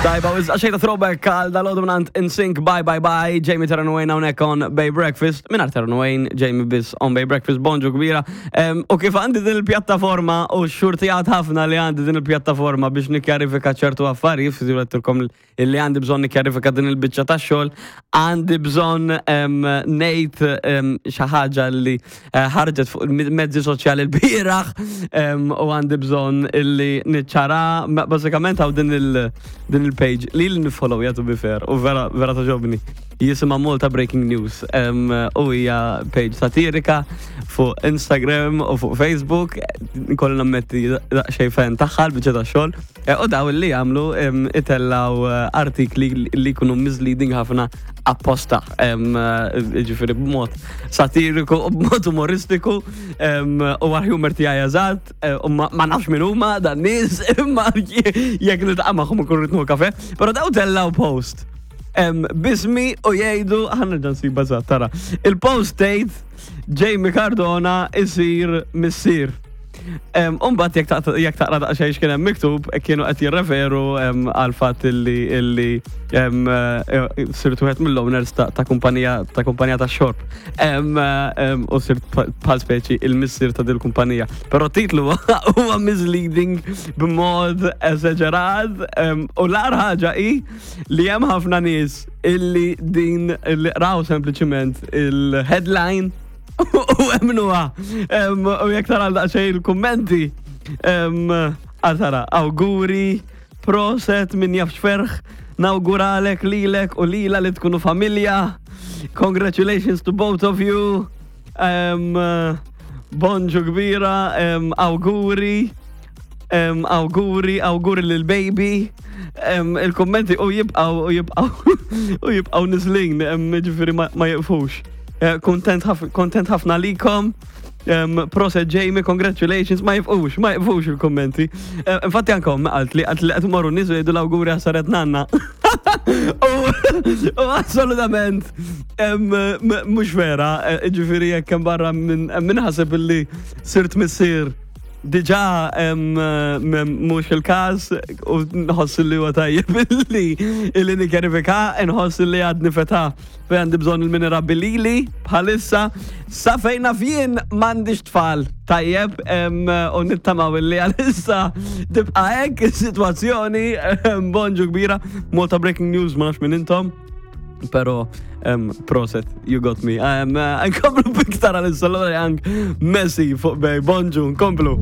Tajba, u xejta throwback għal dal-għodu mnant InSync, bye bye bye, Jamie Terran Wayne hawnhekk on Bay Breakfast, minn Terran Wayne, Jamie biss on Bay Breakfast, bonġu kbira. U kif għandi din il-pjattaforma u xurtijat ħafna li għandi din il-pjattaforma biex nikkjarifika ċertu affarijiet, fizjulettilkom illi għandi bżonn nikkjarifika din il-biċċa tax-xogħol, għandi bżonn ngħid xi ħaġa li eh, ħarġet fuq il-mezzi soċjali l-bieraħ u għandi bżonn illi niċċara bażikament hawn din il- din il-page li li nifollow jagħtu bi fair u vera vera toġobni. Jisimha Malta Breaking News u hija page satirika fuq Instagram u fuq Facebook. Nkolli nammetti daqsxejn fan tagħha l-biċċa tax-xogħol. Eh, u daw li jagħmlu itellaw eh, artikli li jkunu misleading ħafna apposta, eh, ġifieri b'mod satiriku u b'mod umoristiku u għal humor tiegħi eżatt, u ma nafx min huma dan nies, imma jekk niltaqa' magħhom ikun ritmu kafe, però daw tellaw post. Bismi u jgħidu, ħanna ġan siba tara. Il-post tgħid Jamie Cardona isir missier. Umbat jek taqra daqsxejn x'kien hemm miktub, kienu qed jirreferu għal fatt illi illi eh, sirt wieħed mill-owners ta' kumpanija ta' kumpanija ta' xorb. U sirt bħal speċi il-missier ta' dil-kumpanija. Però titlu huwa misleading b'mod eżaġerat u l-agħar ħaġa hi li hemm ħafna nies illi din illi qraw sempliċiment il-headline U emnuha. U jekk tara daqsxejn il-kummenti, għal awguri, proset min jafx ferħ, nawguralek lilek u lila li tkunu familja. Congratulations to both of you. Bonġu kbira, awguri. Awguri, awguri lil baby. Il-kommenti u jibqaw u jibqaw u jibqaw niżlin, ġifieri ma jiqfux. Eh, kontent ħafna likom. Proset Jamie, congratulations, ma jifqux, ma jifqux il-kommenti. Eh, infatti anka ommi qalt li qalt li qed morru nies u jgħidu l-awguri għasaret nanna. U assolutament mhux vera, eh, ġifieri jekk hemm barra minn ħaseb illi sirt missier Diġà mhux il-każ u nħoss li huwa tajjeb li li nikkerifika, nħoss li għadni feta fejn għandi bżonn il-min irabbi lili bħalissa. Sa fejn naf jien m'għandix tfal tajjeb u nittamaw li għalissa tibqa' hekk is-sitwazzjoni bonġu kbira. Malta Breaking News ma nafx minn intom. Pero, um, proset, you got me. Um, uh, nkomplu biktar għal-issa l Young Messi fuq bej, bonġu, nkomplu.